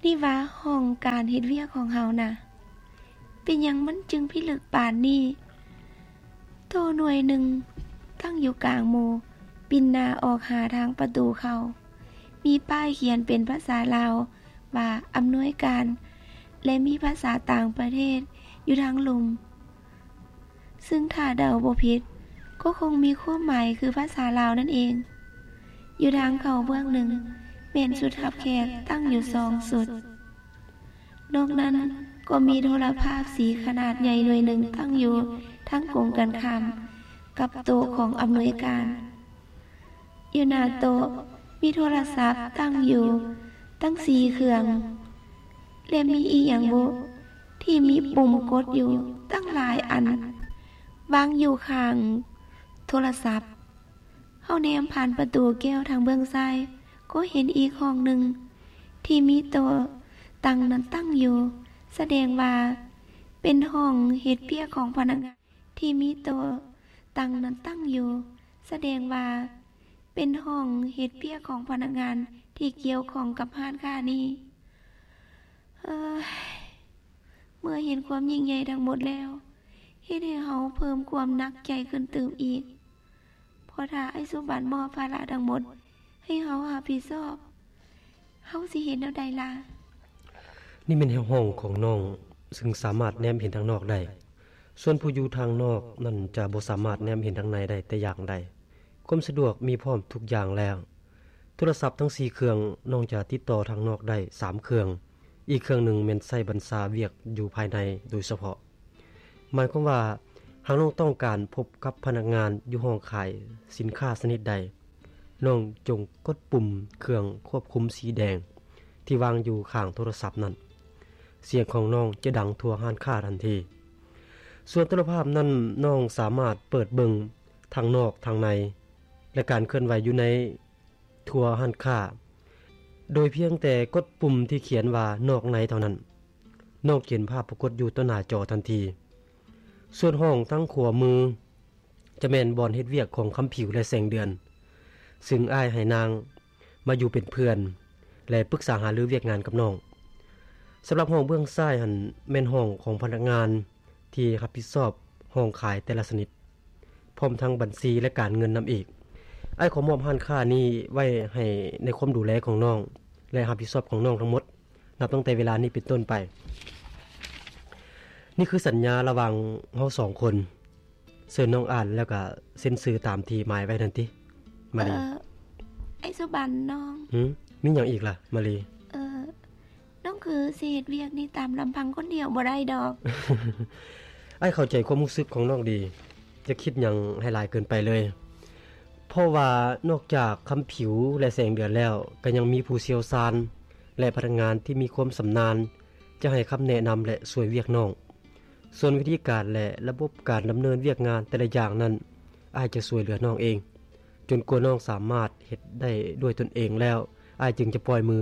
ນີ້ວ່າຫ້ອງການເຮັດວຽກຂອງເຮົານະ ເປັນຫຍັງມັນຈຶ່ງພິລຶກປານນີ້? ໂຕໜ່ວຍໜຶ່ງຕັ້ງຢູ່ກາງໝູ່ ປິ່ນໜ້າອອກຫາທາງປະຕູເຂົ້າ. ມີປ້າຍຂຽນເປັນພາສາລາວວ່າອຳນວຍການ ແລະ ມີພາສາຕ່າງປະເທດຢູ່ທາງລຸ່ມ. ຊຶ່ງຖ້າເດົາບໍ່ຜິດ ກໍຄົງມີຄວາມໝາຍຄືພາສາລາວນັ້ນເອງ. ຢູ່ທາງເຂົ້າເບື້ອງໜຶ່ງ ແມ່ນຊຸດຮັບແຂກຕັ້ງຢູ່ສອງຊຸດ. ນອກນັ້ນກໍມີໂທລະພາບສີຂະໜາດໃຫຍ່ໜ່ວຍໜຶ່ງຕັ້ງຢູ່ທາງກົງກັນຂ້າມກັບໂຕະຂອງອຳນວຍການ. ຢູ່ໜ້າໂຕະມີໂທລະສັບຕັ້ງຢູ່ຕັ້ງສີ່ເຄື່ອງ ແລະ ມີອີ່ຫຍັງບຸທີ່ມີປຸ່ມກົດຢູ່ຕັ້ງຫຼາຍອັນ ວາງຢູ່ຂ້າງໂທລະສັບ. ເຮົາແນມຜ່ານປະຕູແກ້ວທາງເບື້ອງຊ້າຍ ກໍເຫັນອີກຫ້ອງໜຶ່ງທີ່ມີໂຕະຕັ່ງນັ້ນຕັ້ງຢູ່ ສະແດງວ່າເປັນຫ້ອງເຮັດວຽກຂອງພະນັກງານ ທີ່ມີໂຕະຕັ່ງນັ້ນຕັ້ງຢູ່ ສະແດງວ່າເປັນຫ້ອງເຮັດວຽກຂອງພະນັກງານທີ່ກ່ຽວຂ້ອງກັບຮ້ານຄ້ານີ້. ເອີຍ ເມື່ອເຫັນຄວາມຍິ່ງໃຫຍ່ທັງໝົດແລ້ວ ເຮັດໃຫ້ເຮົາເພີ່ມຄວາມໜັກໃຈຂຶ້ນຕື່ມອີກ. ເພາະຖ້າອ້າຍສຸບັນມອບພາລະທັງໝົດໃຫ້ເຮົາຮັບຜິດຊອບ, ເຮົາຊິເຮັດແນວໃດລະ? ນີ້ແມ່ນຫ້ອງຂອງນ້ອງ, ຊຶ່ງສາມາດແນມເຫັນທາງນອກໄດ້. ສ່ວນຜູ້ຢູ່ທາງນອກນັ້ນຈະບໍ່ສາມາດແນມເຫັນທາງໃນໄດ້ແຕ່ຢ່າງໃດ. ຄວາມສະດວກມີພ້ອມທຸກຢ່າງແລ້ວ. ໂທລະສັບທັງສີ່ເຄື່ອງ, ນ້ອງຈະຕິດຕໍ່ທາງນອກໄດ້ສາມເຄື່ອງ. ອີກເຄື່ອງໜຶ່ງແມ່ນໃຊ້ບັນຊາວຽກຢູ່ພາຍໃນໂດຍສະເພາະ. ໝາຍຄວາມວ່າ ຫາກນ້ອງຕ້ອງການພົບກັບພະນັກງານຢູ່ຫ້ອງຂາຍສິນຄ້າຊະນິດໃດ, ນ້ອງຈົ່ງກົດປຸ່ມເຄື່ອງຄວບຄຸມສີແດງທີ່ວາງຢູ່ຂ້າງໂທລະສັບນັ້ນ. ສຽງຂອງນ້ອງຈະດັງທົ່ວຮ້ານຄ້າທັນທີ. ສ່ວນໂທລະພາບນັ້ນ, ນ້ອງສາມາດເປີດເບິ່ງທັງນອກທັງໃນ ແລະ ການເຄື່ອນໄຫວຢູ່ໃນ ທົ່ວຮ້ານຄ້າ ໂດຍພຽງແຕ່ກົດປຸ່ມທີ່ຂຽນວ່ານອກໃນເທົ່ານັ້ນ, ນ້ອງຈະເຫັນພາບປາກົດຢູ່ຕໍ່ໜ້າຈໍທັນທີ. ສ່ວນຫ້ອງທາງຂວາມືຈະແມ່ນບ່ອນເຮັດວຽກຂອງຄຳຜິວ ແລະ ແສງເດືອນ, ຊຶ່ງອ້າຍໃຫ້ນາງມາຢູ່ເປັນເພື່ອນ ແລະ ປຶກສາຫາລືວຽກງານກັບນ້ອງ. ສຳລັບຫ້ອງເບື້ອງຊ້າຍຫັ້ນ ແມ່ນຫ້ອງຂອງພະນັກງານ ທີ່ຮັບຜິດຊອບຫ້ອງຂາຍແຕ່ລະຊະນິດ, ພ້ອມທັງບັນຊີ ແລະ ການເງິນນຳອີກ. ອ້າຍຂໍມອບຮ້ານຄ້ານີ້ໄວ້ໃຫ້ໃນຄວາມດູແລຂອງນ້ອງ ແລະ ຮັບຜິດຊອບຂອງນ້ອງທັງໝົດ, ນັບຕັ້ງແຕ່ເວລານີ້ເປັນຕົ້ນໄປ. ນີ້ຄືສັນຍາລະຫວ່າງເຮົາສອງຄົນ. ເຊີນນ້ອງອ່ານແລ້ວກະເຊັນຊື່ຕາມທີ່ໝາຍໄວ້ນັ້ນຕິ ມາລີ. ເອີ ອ້າຍສຸບັນນ້ອງ. ຫື? ມີຫຍັງອີກລະ ມາລີ? ເອີ ນ້ອງຄືຊິເຮັດວຽກນີ້ຕາມລຳພັງຄົນດຽວບໍ່ໄດ້ດອກ. ອ້າຍເຂົ້າໃຈຄວາມຮູ້ສຶກຂອງນ້ອງດີ, ຢ່າຄິດຫຍັງໃຫ້ຫຼາຍເກີນໄປເລີຍ. ເພາະວ່ານອກຈາກຄຳຜິວ ແລະ ແສງເດືອນແລ້ວ, ກໍຍັງມີຜູ້ຊ່ຽວຊານ ແລະ ພະນັກງານທີ່ມີຄວາມຊຳນານ ຈະໃຫ້ຄຳແນະນຳ ແລະ ຊ່ວຍວຽກນ້ອງ. ສ່ວນວິທີການ ແລະ ລະບົບການດຳເນີນວຽກງານແຕ່ລະຢ່າງນັ້ນ, ອ້າຍຈະຊ່ວຍເຫຼືອນ້ອງເອງ, ຈົນກວ່ານ້ອງສາມາດເຮັດໄດ້ດ້ວຍຕົນເອງແລ້ວ, ອ້າຍຈຶ່ງຈະປ່ອຍມື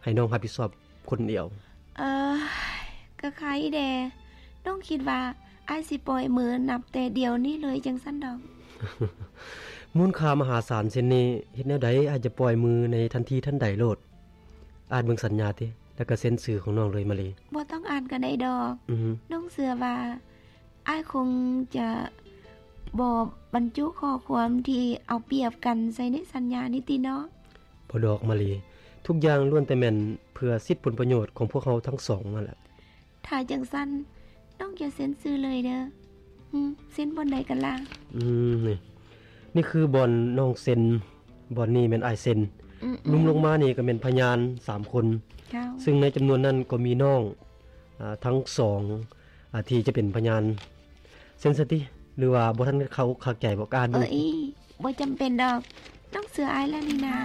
ໃຫ້ນ້ອງຮັບຜິດຊອບຄົນດຽວ. ເອີ ກະໄຄແດ່. ນ້ອງຄິດວ່າອ້າຍຊິປ່ອຍມືນັບແຕ່ດຽວນີ້ເລີຍຈັ່ງຊັ້ນດອກ. ມູນຄ່າມະຫາສານເຊັ່ນນີ້, ເຮັດແນວໃດອ້າຍຈະປ່ອຍມືໃນທັນທີທັນໃດໂລດ. ອ່ານເບິ່ງສັນຍາຕິ ແລ້ວກະເຊັນຊື່ຂອງນ້ອງເລີຍ ມາລີ. ບໍ່ຕ້ອງອ່ານກະໄດ້ດອກ. ອືຮຶ. ນ້ອງເຊື່ອວ່າອ້າຍຄົງຈະບໍ່ບັນຈຸຂໍ້ຄວາມທີ່ເອົາປຽບກັນໃສ່ໃນສັນຍານີ້ຕິເນາະ? ບໍ່ດອກ ມາລີ. ທຸກຢ່າງລ້ວນແຕ່ແມ່ນເພື່ອສິດຜົນປະໂຫຍດຂອງພວກເຮົາທັງສອງນັ້ນແຫຼະ. ຖ້າຈັ່ງຊັ້ນ ນ້ອງຈະເຊັນຊື່ເລີຍເດີ. ຫຶ ເຊັນບ່ອນໃດກັນລະ? ອືມ ນີ້ ນີ້ຄືບ່ອນນ້ອງເຊັນ, ບ່ອນນີ້ແມ່ນອ້າຍເຊັນ. ອືມໆ. ລຸ່ມລົງມານີ້ກໍແມ່ນພະຍານສາມຄົນ. ເຈົ້າ. ຊຶ່ງໃນຈຳນວນນັ້ນກໍມີນ້ອງ ອາ ທັງສອງ ອາ ທີ່ຈະເປັນພະຍານ. ເຊັນຊະຕິ ຫຼືວ່າບໍ່ທັນເຂົ້າອົກເຂົ້າໃຈບໍ່? ອ່ານເບິ່ງ. ເອີຍ ບໍ່ຈຳເປັນດອກ. ນ້ອງເຊື່ອອ້າຍແລ້ວນີ້ນາ.